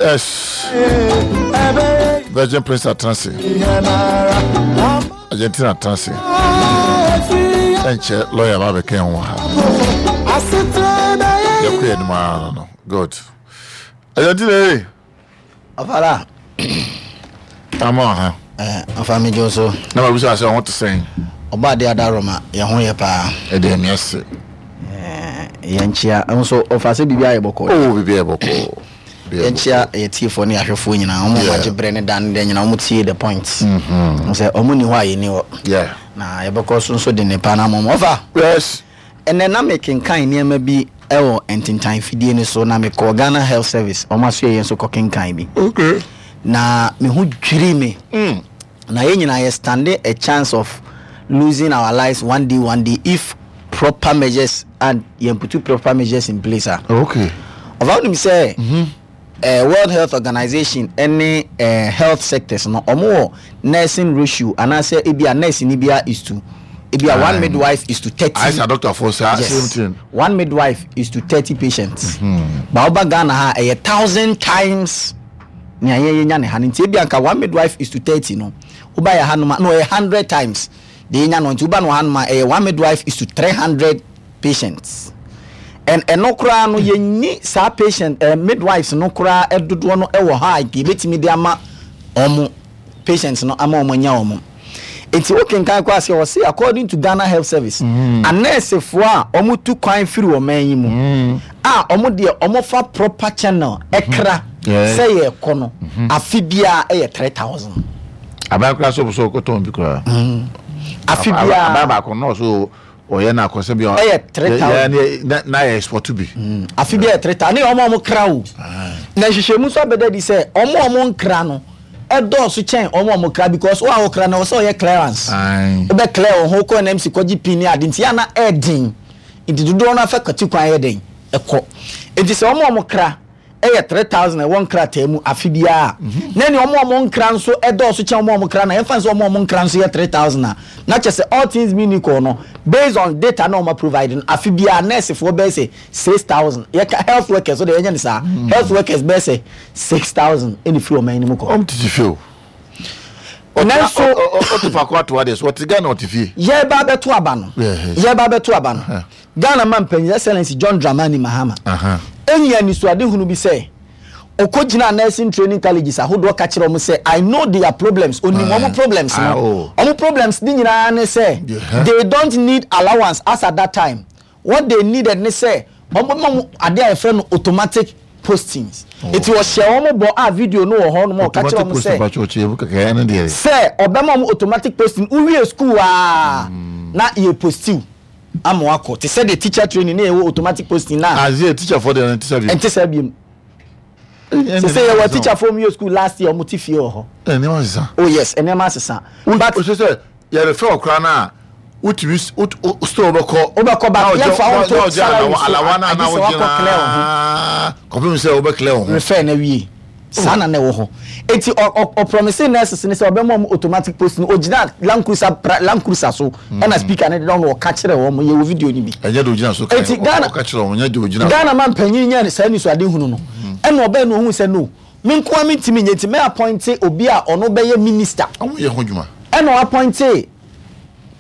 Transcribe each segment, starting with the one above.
Yes. Virgin Prince Atansi. Argentina Atansi. Ɛnkyɛ lawyer ba bɛka ho ha. Yɛkɔ yɛ anim ara no. Good. Argentina ee. Ɔfara. Ama ha. Eh, ɔfa mi dwo so. Na ma bisa sɛ ɔho te sɛn. Ɔba ade adaroma yɛn ho yɛ paa. Ɛde ɛmi ase. Eh, yɛn kyia nso ɔfa sɛ biribi ayɛ bɔkɔɔ. Oh, biribi ayɛ bɔkɔɔ. Yɛn kyia yɛ tiefoɔ ne ahwɛfoɔ nyinaa. Wɔn a wɔagye brɛ ne da ne da nyinaa wɔn tie the point. Mm-hmm. Sɛ wɔn ni hɔ a yɛn ni hɔ. Yeah. Na yɛbɛkɔ so nso de ne pa na ama wɔn. Ɔfa. Yes. Ɛnnɛ na mekenkan nneɛma bi wɔ ntentan fidie no so na mekɔɔ Ghana Health Service wɔn asoɛeɛ nso kɔkenkan bi. Okay. Na me ho dwirii me. Mm. Na yɛn nyinaa yɛ stand a chance of losing our lives one day one day if proper measures and yɛn putu proper measures in place a. Okay. Ɔfa wonim sɛ. Mm -hmm. Eh, World Health Organization ne eh, health sectors no, wɔn wɔ nursing ratio anaasɛ ebi a nurse ni bia is to ebi a one midwife is to 30. Ayɛ sɛ doctor for saa same thing. One midwife is to 30 patients. Ba woba Ghana ha ɛyɛ 1000 times nea yɛn yɛnya ne ha no nti ebi anka one midwife is to 30 no woba yɛ ha nom a no ɛyɛ 100 times deɛ yɛnya no nti woba no ha nom a ɛyɛ one midwife is to 300 patients and ɛno koraa no yɛnni saa patient eh, midwives no koraa dodoɔ no wɔ hɔ a yɛbɛtumi de ama wɔn patients no ama wɔn anya wɔn nti wokenkan kɔ aseɛ ɔse according to Ghana Health Service anɛɛsefoɔ a wɔn tu kwan firi ɔman yi mu a wɔn deɛ wɔn fa proper channel ɛkra sɛ yɛkɔ no afe biara ɛyɛ 3000. Aban koraa sɛ ɔpɛ sɛ ɔkɔtɔn bi koraa. Afe biara. Aban baako nɔɔso ɔyɛ na akɔsɛ bi ɛyɛ 3000 na yɛ export bi. Afe bi ɛyɛ 3000 ne wɔn a wɔn kra o. Na nhwehwɛmu nso abɛda adi sɛ wɔn a wɔn nkra no ɛdɔɔso kyɛn wɔn a wɔn kra because wɔn a wɔkra no wɔsɛ ɔyɛ clearance. Wobɛ clear wɔn ho kɔ NMC kɔgye pin ne ade nti yɛ ana ɛɛden nti dodoɔ no afa kwati kwan yɛ den ɛkɔ nti sɛ wɔn a wɔn kra yɛ 3,000 a ɛwɔ nkrataa mu afe biara a, na ɛne wɔn a wɔn nkra nso dɔɔso kyɛn wɔn a wɔn kra no a, yɛmfa no sɛ wɔn a wɔn nkra nso yɛ 3,000 a, na kyerɛ sɛ all things being equal no, based on data na wɔn provide no, afe biara nɛɛsefoɔ bɛyɛ sɛ 6,000. Yɛka health workers, so deɛ yɛnyɛ no saa, health workers bɛyɛ sɛ 6,000 ɛna ɛfiri ɔman no mu kɔ. Wɔn tete fie o. Nanso, ɔte faako ato adeɛ so, ɔte Ghana ɔte fie. Yɛreba abɛto aba no, yɛreba abɛto aba no, Ghana Mampanyin Excellency John Dramani Mahama anya anisoadehunu bi sɛ ɔkɔgyinaa nursing training colleges ahodoɔ ka kyerɛ wɔn sɛ I know their problems, ɔnim wɔn problems no. Wɔn problems no nyinaa ne sɛ they don't need allowance as at that time. What they needed ne sɛ wɔbɛma wɔn adeɛ a yɛfrɛ no automatic postings. Eti ɔhyɛɛ wɔn bɔ a video no wɔ hɔ nom a ɔka kyerɛ wɔn sɛ sɛ ɔbɛma wɔn automatic posting, wowie school a na yɛ postiw. Ama wakɔ te sɛ deɛ teacher training ne yɛwɔ automatic posting na. Azeɛ teacher fɔ deɛ ɛnte saa biom. Ɛnte saa biom. Sɛ sɛ yɛwɔ teacher fɔ mu yɛ school last year wɔn te fie wɔ hɔ. Nneɛma asesa. Oh yes, nneɛma asesa. But o sɛ yɛrefɛ wɔ koraa na wotumi still wobɛkɔ. Wobɛkɔ ba yɛnfa wo nto salary so agye sɛ wakɔ clear wo ho. Kɔpem sɛ wobɛ clear wo ho. Refer na wie. Saa na na ɛwɔ hɔ. Enti ɔ ɔ ɔprɔmise nurses no sɛ ɔbɛma wɔn automatic post no. Ogyinaa Land Cruiser pra Land Cruiser so ɛna speaker no deda hɔ na ɔka kyerɛɛ wɔn. Yɛwɔ video no bi. Ɛnyɛ deɛ ogyina so kae. Enti Ghana Ɔka kyerɛɛ wɔn, nyɛ deɛ ogyina so. Ghana manpanyin nyaa saa anisoadehunu no. Ɛna ɔbae na ohuu sɛ no, me nko ara mentumi nyɛ nti mɛ appointe obi a ɔno bɛyɛ minister. Wɔyɛ ho adwuma. Ɛna ɔappointe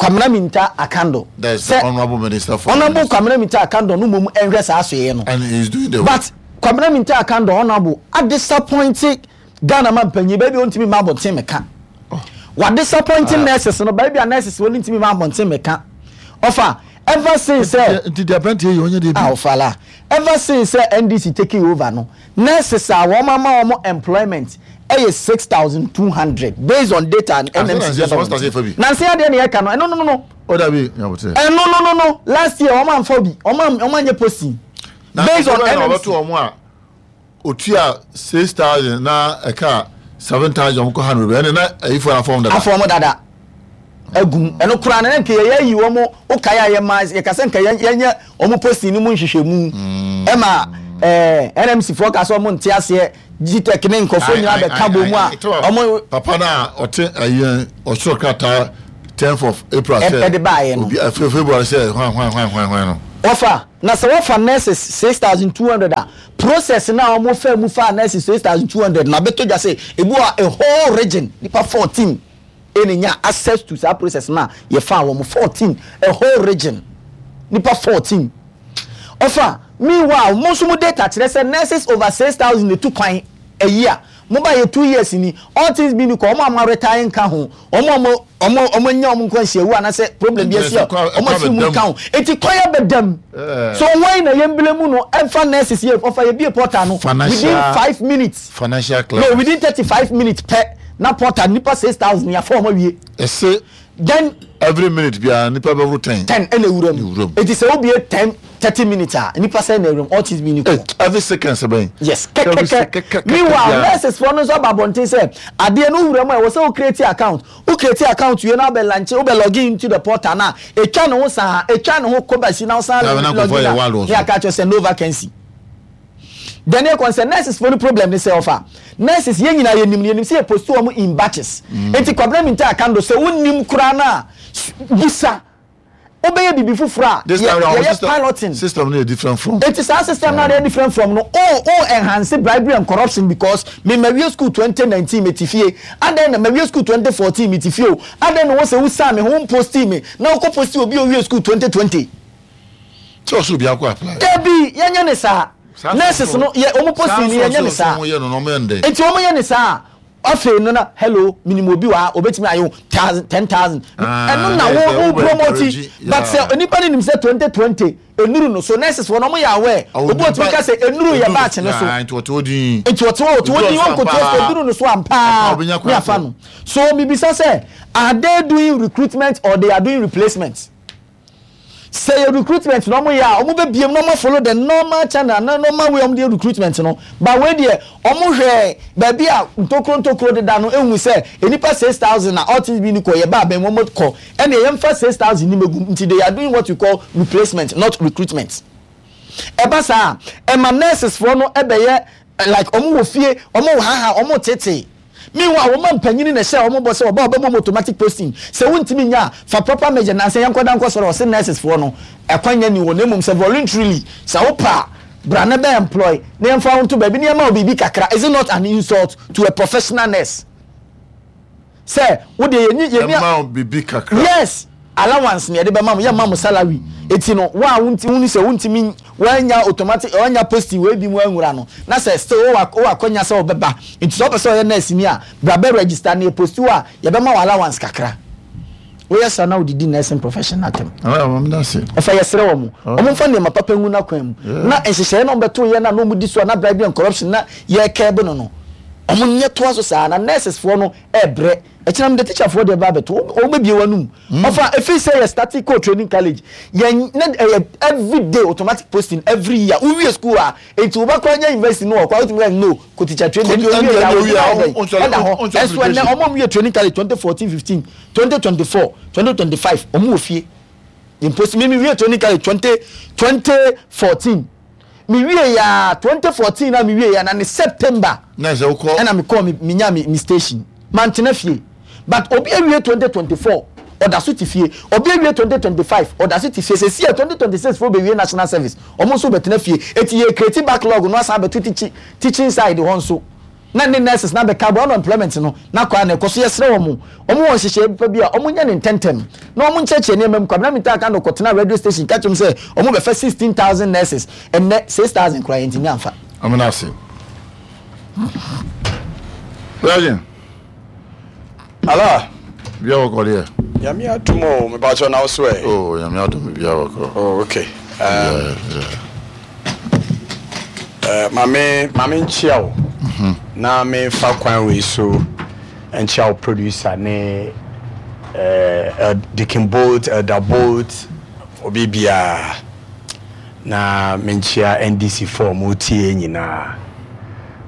Kwamina Minta Akando. That is the Sɛ honourable minister for Honourable Kwamina Minta Akando no mmom nhwɛ saa asoɛeɛ no. And he is doing the work. But Kwabena Mintah Akandoh Honourable adisappointe Ghana man panyin baabi a ɔntumi mma abɔnten mmɛka. Wadisappointe nurses no baabi a nurses wɔ no ntumi mma abɔnten mmɛka. Ɔfa ever since sɛ. Nti deɛ aberanteɛ yɛ ɔnyɛ deɛ bi. Ah ɔfa la. Ever since sɛ NDC taking over no nurses a wɔn ama wɔn employment ɛyɛ 6,200 based on data NMC de aba wɔn ti. Nansa yi adeɛ na yɛka no ɛno no no. O dabi nyabotere. Ɛno no no no last year wɔn amfa obi wɔn anyɛ posting. Na Based on nkurɔfoɔ bɛn na NMC. wɔbɛto wɔn a otua 6000 na ɛka 7000 wɔn kɔ ha no bebree ɛne na ayifoɔ no afɔm dada. Afɔm dada agum ɛno koraa no na nka yɛyɛ ayi wɔn wokae a yɛma yɛka sɛ nka yɛnyɛ wɔn posting no mu nhwehwɛmu ɛma ɛɛ NMC foɔ ka sɛ wɔn nte aseɛ GTEC ne nkurɔfoɔ nyinaa bɛka bɔ mu a wɔn. Papa no a ɔte ayi ɔsoro krataa 10th of April sɛ ɛde baayɛ no obi February sɛ hwan hwan hwan hwan hwan no. Wɔfa, na sɛ wɔfa nurses 6,200 a, process no a wɔfaa mu faa nurses 6,200 no abɛtɔ dwa sɛ ebi wɔ a whole region nipa 14 ɛna nya access to saa process no a yɛfaa wɔn 14, a whole region nipa 14. Ɔfa, meanwhile mo nso mo data kyerɛ sɛ nurses over 6,000 na etu kwan a year. Mo ba yɛ 2 years ni, all things being equal, wɔn a wɔn retire nka ho, wɔn a wɔn anya wɔn nkwanhyiawu anaasɛ problem bi asi a wɔn afiri mu nka ho. Eti kwan abɛdam. So wɔn na yɛn bile mu no ɛnfa nurses yɛ ɔfa yɛ bie portal no within 5 minutes. Financial No, clearance. Within 35 minutes pɛ na portal nipa 6,000 yɛafa wɔn awie. Ɛsɛ Then every minute biara nipa bɛworo 10. 10 ɛna ewura mu. Ewura mu. Eti sɛ obie 10, 30 minutes a, nipa sɛ na ewura mu, all things being equal. Eh, every second sɛ bɛn. Yes. Every Kɛkɛkɛ. Meanwhile, nurses foɔ no nso aba abɔnten sɛ adeɛ no wura mu a, ɛwɔ sɛ wo create account. Wo create account wie na wobɛ launch, wobɛ log in into the portal na etwa ne ho saa, etwa ne ho kɔ basi na wosan Na na log nkurɔfoɔ in yɛ a wild wɔ ne so. aka kyerɛ sɛ no vacancy. Then yɛ kɔn sɛ nurses foɔ no problem ne sɛ, ɔfa nurses yɛn nyinaa yɛnim no, yɛnim sɛ yɛ post wɔn in batches. Eti Kwabena Mintah Akandoh, sɛ wonim koraa na bisa wobɛyɛ biribi foforɔ a This time round yɛyɛ system piloting. System no yɛ different from. Eti saa system na yɛ different from no o enhance bribery and corruption, because me ma wie school 2019 me ti fie adan, na ma wie school 2014 me ti fie o adan, na wɔ sɛ wusan me ho post me na wokɔ post obi a owie school 2020. Tí ɔsɔ obi akɔ apply. Dabi, yɛnyɛ ne saa. Nurses no yɛ ɔmo posting no, yɛnyɛ ne saa. Saa nso yɛ no na ɔmo yɛ no dɛ. Eti ɔmo yɛ ne saa, afei no na hello, minimu obi wɔ ha obetumi ayɛ wo thousand, 10,000. Ɛno na wo wo promote, but sɛ nipa no nim sɛ 2020 enuru no so, nurses wɔ no ɔmo yɛ aware, obi otumi ka sɛ enuru yɛ batch no so. Nti ɔte hɔ din. Nti ɔte hɔ, ɔte hɔ din, ɔnkoto sɛ eduru no so ampaa ne afa no so. Mibisa sɛ, are they doing recruitment or they are doing replacement? Sɛ yɛ recruitment na ɔmo yɛ a, ɔmo bɛ biem na ɔmo follow the normal channel na normal way ɔmo de yɛ recruitment no. But wei deɛ, ɔmo hwɛ baabi a ntokuro ntokuro deda no, ehu sɛ enipa 6,000 na all things being equal yɛ ba abɛn mu ɔmo kɔ, ɛna yɛn fa 6,000 ni megu. Nti they are doing what we call replacement, not recruitment. Ɛba saa, ɛma nurses foɔ no ɛbɛyɛ like ɔmo wɔ fie, ɔmo wɔ haha, ɔmo tete. Meanwhile, wɔn ma mpanyini na ɛhyɛ wɔn bɔ sɛ ɔba ɔbɛbɔ mu automatic posting. Sɛ wontumi nya a, fa proper measure. Nansa yɛn nkɔda nkɔ sɔrɔ, ɔsɛ nurses foɔ no ɛkwan nya ni wɔ, na emom sɛ voluntarily sɛ wopa a, bra na bɛ employ na yɛmfa wo nto baabi na yɛma wo biribi kakra. Is it not an insult to a professional nurse sɛ wo deɛ yɛni yɛni Ɛma wo biribi kakra. Yes, allowance na yɛde bɛma mo, yɛma mo salary. Eti no wo a wonti woni sɛ wontumi wanya automatic, wanya posting wei bi mu anwura no, na sɛ still wowɔ akɔnya sɛ wɔbɛba, nti sɛ wopɛ sɛ ɔyɛ nurse ni a, bra bɛ register na yɛ post wo a, yɛbɛma wo allowance kakra. Woyɛ saa na wodidi nursing profession atam. Ɔfa, yɛsrɛ wɔ mo, ɔmo mfa nneɛma papa ngu n'akwan mu na nhyehyɛeɛ na ɔmbɛto yɛ na ɔmo di so a, na bribery and corruption na yɛkɛɛbe no, ɔmo nyɛ toa so saa na nurses foɔ no ɛɛbrɛ. Ɛkyinam de teacher foɔ deɛ ba abɛto, ɔmo bɛbie wɔn anum. Ɔfa, efi sɛ yɛ starting kɔ training college yɛn ne ɛyɛ every day automatic posting every year. Wowie school a, eti wo ba kora nya university no, ɔkɔ a wotumi kɛ no kɔ teacher training. Ebi owie yɛ awo gyina ɛdɛ ɛda hɔ. Ɛnso ɛnɛ ɔmo a ɔmo yɛ training college 2014, 15, 2024, 2025, ɔmo wɔ fie yɛn post. Mi wie training college 2014, mi wie ya 2014 na mi wie ya na ne September Na sɛ wokɔ. Ɛna mi kɔɔ mi nya mi station, mantena fie. But obi awie 2024, ɔda so te fie. Obi awie 2025, ɔda so te fie. Sɛ si yɛ 2026 fo bɛwie national service, ɔmo nso bɛtena fie. Eti yɛ create backlog no asan abɛto teaching side hɔ nso na ne nurses na bɛka bɔ unemployment no na kɔ a na ɛkɔ so. Yɛsrɛ wɔn, ɔmo wɔ nhyehyɛ pa bi a, ɔmo nyɛ ne ntɛntɛm na ɔmo nkyerɛkyerɛ nneɛma mu. Kwabena Mintah Akandoh kɔtena radio station ka kyerɛ mu sɛ ɔmo bɛfɛ 16,000 nurses. Ɛnnɛ 6,000 koraa yɛntumi amfa. Amena ase. Virgin. Ala. Bia wɔkɔ deɛ. Nyame adom o, mepakyɛ na wo so ɛ? Oh, nyame adom, bia wɔkɔ. Oh, okay. Maame nkyia wo. Na memfa kwan wei so nkyia wo producer ne Deacon Bolt, Elder Bolt, obi biara. Na menkyia NDC fo a wɔtie nyinaa.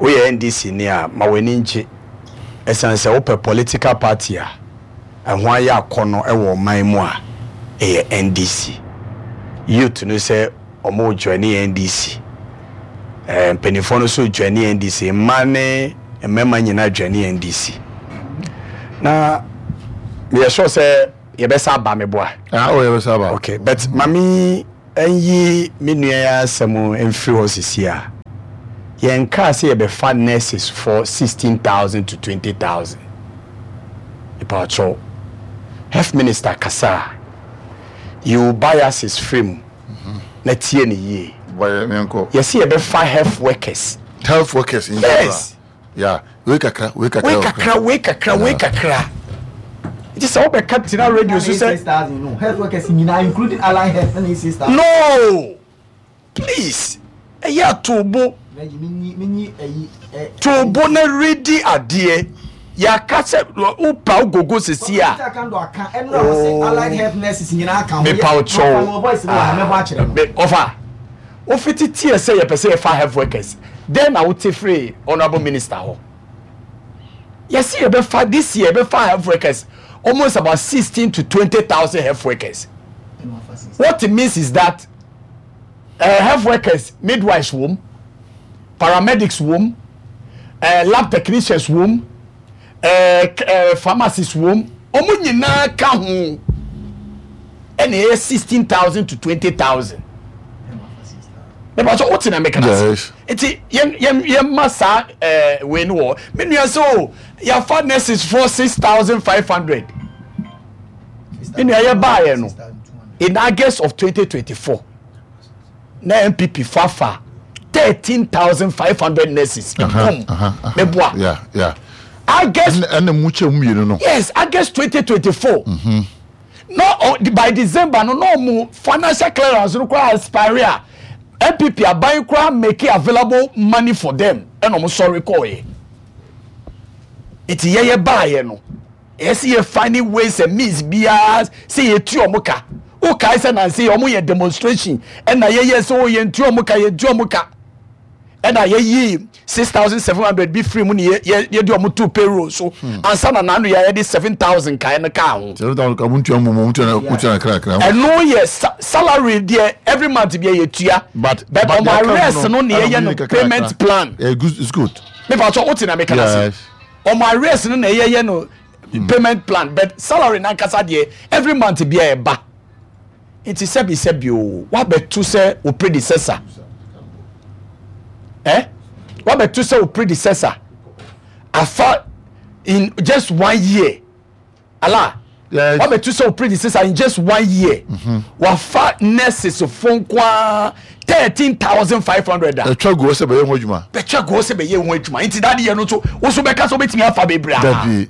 Woyɛ NDC ni a, ma w'ani ngye. Ɛsiane sɛ wopɛ political party a ɛho ayɛ akɔnɔ wɔ ɔman mu a, ɛyɛ NDC. Youth no sɛ ɔmo join NDC. Mpanimfoɔ no nso join NDC. Mmaa ne mmarima nyinaa join NDC. Na meyɛ sure sɛ yɛbɛsa aba meboa. Ah, oh, yɛbɛsa aba. Okay, but mami. nyi me nua yi asɛm mfiri hɔ sisi a, yɛnkaa sɛ yɛbɛfa nurses foɔ 16,000 to 20,000. Mepakyɛw, Health Minister kasa a, yi wo biases firi mu na tie no yie. Yɛse yɛbɛfa health workers. Health workers in general. Yes. Yeah, wei kakra, wei kakra. Wei kakra, wei kakra, wei kakra. Nti sɛ wobɛka tena radio so sɛ. No, health workers nyinaa including allied health na 6,000. No, please, ɛyɛ atobo. Tobo na redi adeɛ. Yɛaka sɛ wopa wogogo sisi a. Mepa wo kyɛw. Ɔfa. Wofiti teɛ sɛ yɛpɛ sɛ yɛfa health workers, dɛn na wote firii honourable minister hɔ? Yɛse yɛbɛfa, this year yɛbɛfa health workers almost about 16 to 20,000 health workers. What it means is that uh, health workers, midwives wom, paramedics wom, uh, lab technicians wom, uh, uh, pharmacists wom, wɔn nyinaa ka ho ɛna ɛyɛ 16,000 to 20,000. Mepɛ sɛ wote na meka no ase. Nti yɛn yɛn yɛn saa ɛɛ wei no wɔ. Me nua sɛ o yɛafa nurses for 6,500. Me nua yɛ baayɛ no in August of 2024 na NPP fafa 13,500 nurses. Nkum meboa. Yeah, yeah. August. Ɛna mu kyɛ mu mmienu no. Yes, August 2024. Mm -hmm. No, oh, by December no, no mu financial clearance no koraa expire a NPP aban koraa make available money for them ɛna ɔmo sɔre kɔɔyɛ. Nti yɛyɛ baayɛ no, ɛyɛ sɛ yɛ finding ways and means biara sɛ yɛtu ɔmo ka. Wokae sɛ nanse ɔmo yɛ demonstration ɛna yɛyɛ sɛ o yɛntu ɔmo ka, yɛntu ɔmo ka. Ɛna yɛyii 6700 bi firi mu ne yɛde ɔmo too payroll so ansa na n'ano yɛ yɛde 7000 kae no kaa ho. 7000 ka mo ntua mu mo ntua mo ntua kra kra. Ɛno yɛ salary deɛ every month bi yɛ tua. But but ɔmo arrears no ne yɛyɛ no payment plan. Yeah, good, it's good. Me pa so wote na me kana se. Ɔmo arrears no na yɛyɛ no payment plan but salary nankasa deɛ every month bi ɛba. Nti sɛbi sɛbi o, wabɛto sɛ wo predecessor. Eh? Wabɛto sɛ wo predecessor. Afa in just one year. Ala. Yes. Wabɛto sɛ wo predecessor in just one year. Mm -hmm. Wafa nurses fo nkoa 13,500 a. Ɛtwa guo sɛ bɛyɛ ho adwuma. Bɛtwa guo sɛ bɛyɛ ho adwuma. Nti dade yɛ no nso, wo so bɛka sɛ wobɛtumi afa bebree a. Dabi.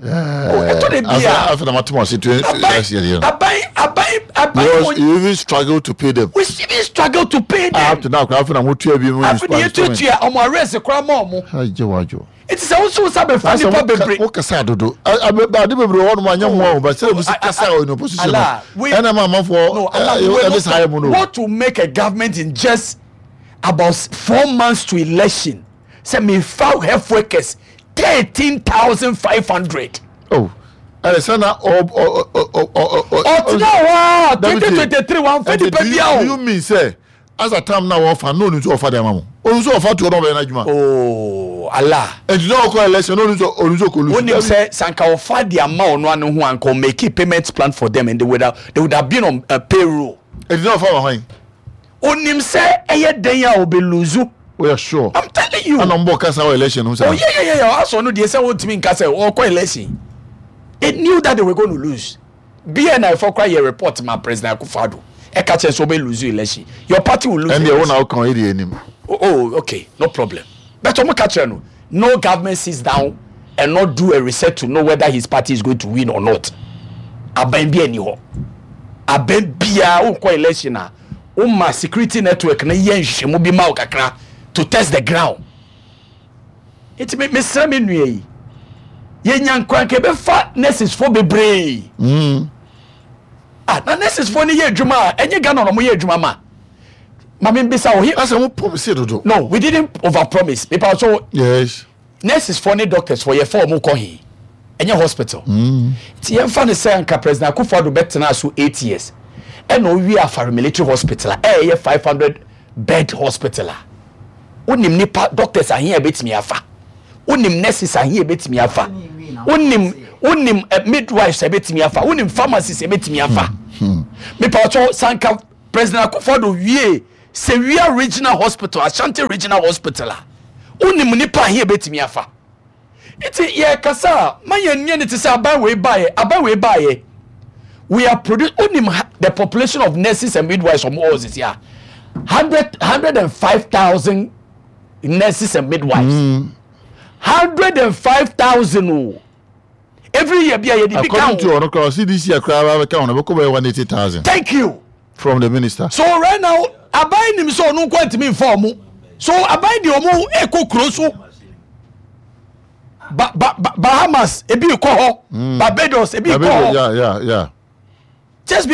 Ɛtɔ de bi a. Afei na mate mo ase to last year deɛ no. Aban aban aban. Because you even struggle to pay them. We even struggle to pay them. Up to now koraa afei na mo tua bi mu. Afei na yɛtuatua ɔmo arrears koraa ma ɔmo. Agye wadwo. Nti sɛ woso nsa bɛfa nipa bebree. Wo kasa dodo. Ade bebree wɔ hɔnom anyɛ mmoa o but sɛ obi si kasa wɔ in opposition no. Ɛna ma amanfoɔ ɛde saa yɛ mu no. What to make a government in just about 4 months to election sɛ mefa health workers 13,500. Oh, ɛyɛ sɛ na ɔ ɔ ɔ ɔ ɔ ɔ. Ɔtena hɔ a 2023 wɔn fɛ nipa bi a o. Do you mean sɛ as a time na wɔfa no onu nso ɔfa de ama mo onu nso ɔfa to ɔno ɔbɛyɛ n'adwuma. Oh Allah. Nti na ɔkɔ election onu nso onu nso kɔ lose. Onim sɛ sanka ɔfa de ama ɔno ano ho anka ɔ make payment plan for them and they would have been on payroll. Nti na ɔfa ma hwan. Onim sɛ ɛyɛ den a ɔbɛ lose. Oh yeah sure. I'm telling you. Ɛna ɔmo bɔ kasa wɔ election ho saa. Oh yeah. Asɔ no deɛ sɛ wɔntumi nka sɛ ɔkɔ election. They knew that they were going to lose. BNI fɔ kora yɛ report ma President Akufo-Addo. Ɛka kyerɛ sɛ ɔbɛ lose election. Your party will lose. Ɛnni ɛwɔ na ɔka ɔyɛ deɛ anim. Oh okay, no problem. But ɔmo ka kyerɛ no, no government sits down and not do a research to know whether his party is going to win or not. Aban bi ani hɔ. Aban biara wokɔ election a, woma security network no yɛ nhwehwɛmu bi ma wo kakra to test the ground. Nti me mesrɛ me nua yi, yɛnya nkranka yɛbɛfa nurses fo bebree. Ah, na nurses fo no yɛ adwuma a, ɛnyɛ Ghana na wɔyɛ adwuma ma. Ma me mbisa wo. Asɛ mo promise dodo. No, we didn't over promise. Mepa so. Yes. Nurses fo ne doctors fo yɛfa wɔn kɔ he? Ɛnyɛ hospital. Nti yɛmfa no sɛ anka President Akufo-Addo bɛtenaa so 8 years ɛna owie Afari Military Hospital a ɛyɛ 500 bed hospital a, wonim nipa doctors ahe a ɛbɛtumi afa, wonim nurses ahe a ɛbɛtumi afa, wonim midwives a ɛbɛtumi afa, wonim pharmacists a ɛbɛtumi afa. Mepa ɔkyɛw sanka. President Akufo-Addo wie Sewia Regional Hospital, Ashanti Regional Hospital a, wonim nipa ahe ebetumi afa? Nti yɛkasa a, ma yɛn nyɛ ne te sɛ aban wei baeɛ, aban wei baeɛ. We are produce, wonim the population of nurses and midwives ɔmo wɔ sisi a, 105,000 nurses and midwives. 105,000 o. Every year bi a yɛde bi ka According to ho. ɔno koraa, ɔsi this year koraa bɛka ho no, ɛbɛkɔ bɛyɛ 180,000. Thank you. From the minister. So right now, aban nim sɛ ɔno nko ntumi nfa ɔmo. So aban de ɔmo ekɔ kuro so. Ba ba ba Bahamas ebi kɔ hɔ. Barbados ebi kɔ Barbados, hɔ. yeah. Just because.